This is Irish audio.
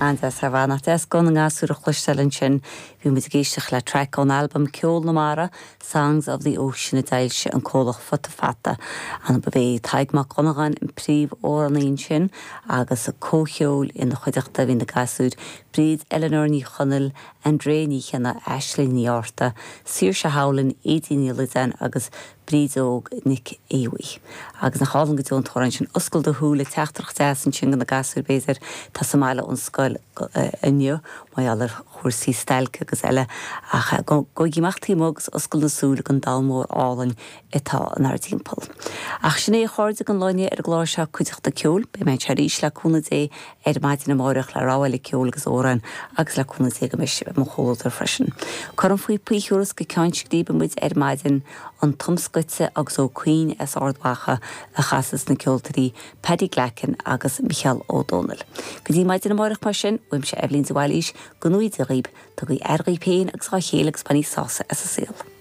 An-deas ar fad. Nach deas guth na ngasúr a chloisteáil ansin. Bhí muid ag éisteacht le traic ón albam Ceol na Mara, Songs of the Ocean a d'fhoilsigh an comhlacht Futa Fata. Ba é Tadhg Mac Dhonnagáin an príomhamhránaí ansin agus comhcheol ina chuideachta. Bhí na gasúir Bríd Eleanor Ní Chonaill, Andrea Ní Chionnaith, Aisling Ní Fhátharta, Saoirse Howlin, Aedín Ní Loideáin agus Bríd Óg Nic Aodha. Agus nach álainn go deo an t-amhrán sin, Oscail do Shúile, teachtaireacht deas ansin do na gasúir b'fhéidir atá sa mbaile ón scoil inniu mar gheall ar chúrsaí stailce agus eile ach gabhaigí amach taobh amuigh agus oscail na súile don domhan mór álainn atá inár dtimpeall. Ach sin é a chairde don lá inniu ar an gclár seo Cuideachta Ceoil. Beidh mé anseo arís le cúnamh Dé ar maidin amáireach le rogha eile ceoil agus amhráin agus le cúnamh Dé go mbeidh sibh i mo chomhluadar freisin. Cuirim faoi thuras go Ceann Scríbe muid ar maidin, an Tom Scoite agus Ó Cuinn as Ard Mhacha a chasas na ceoltóirí Paddy Glackin agus Micheál Ó Dónaill. Go dtí maidin amáireach mar sin, uaimse Eibhlín de Bhailís, go ngnóthaí Dia dhaoib, tugaigí aire dhaoib féin agus dhá chéile agus bainigí sásamh as an saol.